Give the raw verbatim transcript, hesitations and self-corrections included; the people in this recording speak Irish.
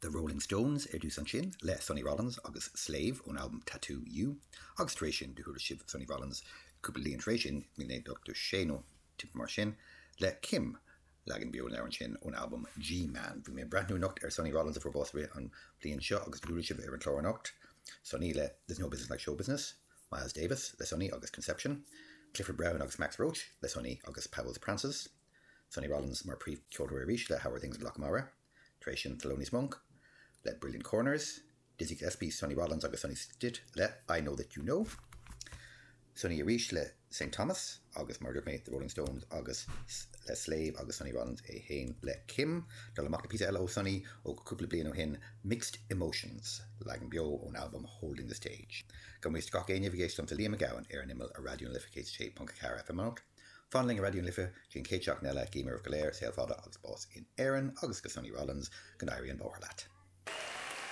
The Rolling Stones ar dtús ansin le Sonny Rollins agus Slave ón albam Tattoo You, agus tar éis sin do chuala sibh Sonny Rollins cúpla bliain tar éis sin míle naoi ochtó sé nó timpeall mar sin le Kim leagan beo an sin ón albam G-Man. Bhí mé breathnú anocht ar Sonny Rollins a fuair bás an bhliain seo agus chuala sibh ar an chlár anocht. Sonny le There's no business like show business, Miles Davis le Sonny agus Conception, Clifford Brown agus Max Roach le Sonny agus Powell's Prances, Sonny Rollins mar príomhcheoltóir arís le How Are Things in Lochmara, tar éis sin Thelonious Monk, le Brilliant Corners, Dizzy Gillespie, Sonny Rollins agus Sonny Stitt le I Know That You Know. Sonny arís le St. Thomas agus mar mé the Rolling Stones agus le Slave agus Sonny Rollins é féin le Kim, Dul amach le píosa eile ó Sonny ó cúpla bliain ó shin Mixed Emotions leagan beo ón album Holding the Stage. Go mbeidh gach éinne ag éisteacht Liam Mac Gabhann ar an imeall ar Raidió na Life céad sé ponc ceathair FM. Fan linn Raidió na Life dtí an chéad seachtain eile guím oraibh go léir saol fada agus bás in Éirinn agus go Sonny Rollins go n-éirí an bóthar leat.